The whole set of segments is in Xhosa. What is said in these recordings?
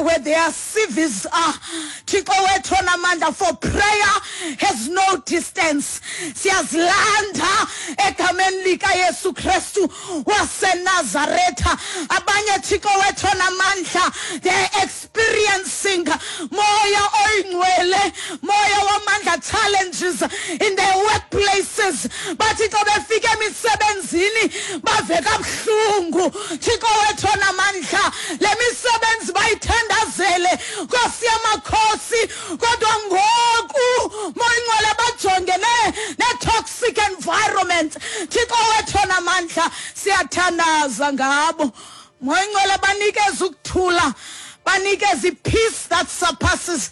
where their CVs are. Thixo wethu onamandla, for prayer has no distance. Siyazilanda egameni likaYesu Kristu waseNazaretha. Abanye, Thixo wethu onamandla, they experiencing, Moya Oyingcwele, Moya wamandla, challenges in their workplaces. Bathi xa befika emisebenzini bave kabuhlungu. Thixo wethu onamandla, le misebenzi bayithandazele, Nkosi yamakhosi, kodwa ngoku, Moya Ingcwele, bajongene ne-toxic environment. Thixo wethu onamandla, siyathandaza ngabo. Moya Ingcwele, banikeze ukuthula, banikeze i-peace that surpasses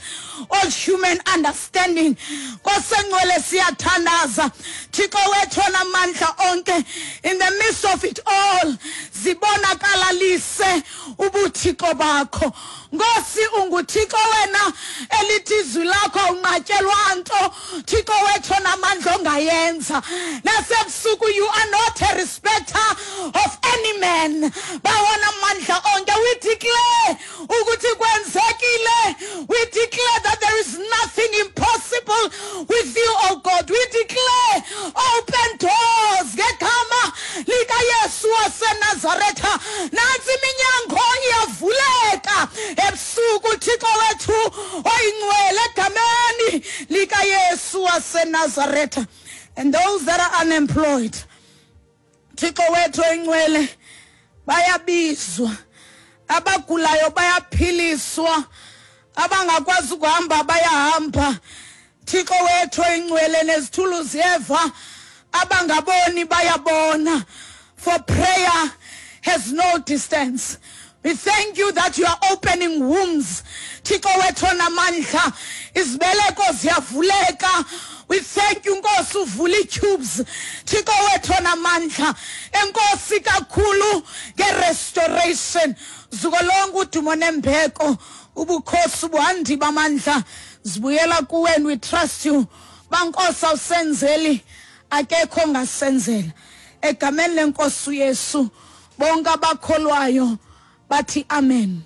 all human understanding. Nkosengcwele, siyathandaza, Thixo wethu onamandla onke, in the midst of it all zibonakalalise ubuthixo bakho. Nkosi, unguThixo wena elithi izwi lakho awunqatyelwa nto, Thixo wethu onamandla, ongayenza nasebusuku. You are not a respecter of any man. Bawona amandla onke, we declare ukuthi kwenzekile. We declare that there is nothing impossible with you, oh God. We declare open doors ngegama likaYesu waseNazaretha. Nantsi iminyango iyavuleka ebusuku, Thixo wethu oyingcwele, egameni likaYesu waseNazaretha. And those that are unemployed, Thixo wethu oyingcwele, bayabizwa. Abagulayo bayaphiliswa, abangakwazi ukuhamba bayahamba, Thixo wethu oyingcwele, nezithulu ziyeva, abangaboni bayabona, for prayer has no distance. We thank you that you are opening wombs, Thixo wethu onamandla, izibeleko ziyavuleka. We thank you, Nkosi, uvula ii-tubes, Thixo wethu onamandla. Enkosi kakhulu nge-restoration. Zuko lonke, udumo nembeko, ubukhosi, ubuhandi bamandla zibuyela kuwe, and we trust you. Bankosi, awusenzeli, akekho ongasenzela. Egameni lenkosi uYesu, bonke abakholwayo bathi amen.